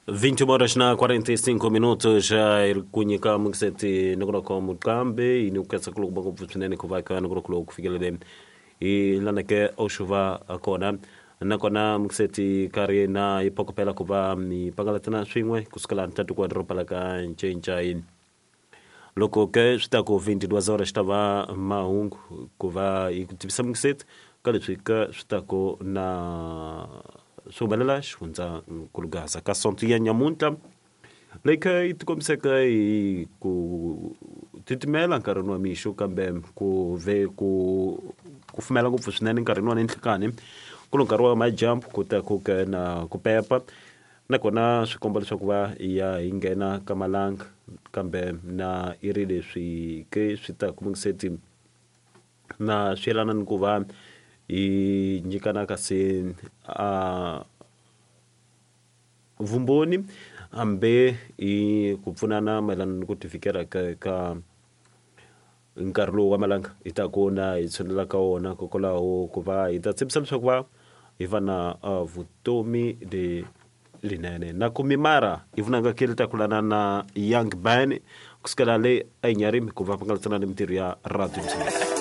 21 horas na 45 minutos hi ku nyika mukiseti ni ku loko muqambi yi ni ku katsa ku loko ngopfu swinene ku va ka ni ku loko ku fikelele hi laneke oxuva kona nakona mukiseti karhi na yi phokopela ku va mi pangalatana swin'we kusukela ntatu kwa doroba la ka Ncencai. Loko ke swi ta ku 22 horas xi ta va mahungu ku va yi ku tivisa mukiseti ka leswi ka swi ta ku na swi humelela xifundza nkulugaza ka sonto ya nyamuntlha leyi kha yi tikombiseke hi ku titimela nkarhini wa mixo kambe ku ve ku kufumela ngopfu swinene nkarhini wa ninhlikani ku lo nkarhi wa madyambu ku ta ku ke na ku pepa Nakona swi komba leswaku va ya hi nghena ka malanga, kambe na i ri leswi ke swi ta kumingiseti na swi yelana ni ku va hi nyikana kasi a vumbhoni hambi hi ku pfunana mayelana ni ku tivikela ka ka nkarhi lowu wa malanga hi ta ku na hi tshunela ka wona kokwalaho ku va hi ta tshembisa leswaku va hi va na vutomi lelinene na ku mimara yi vunanga ke li ta kulana na young ban kusukela le enyarimi ku va pangalatsana ni mintirho ya radio.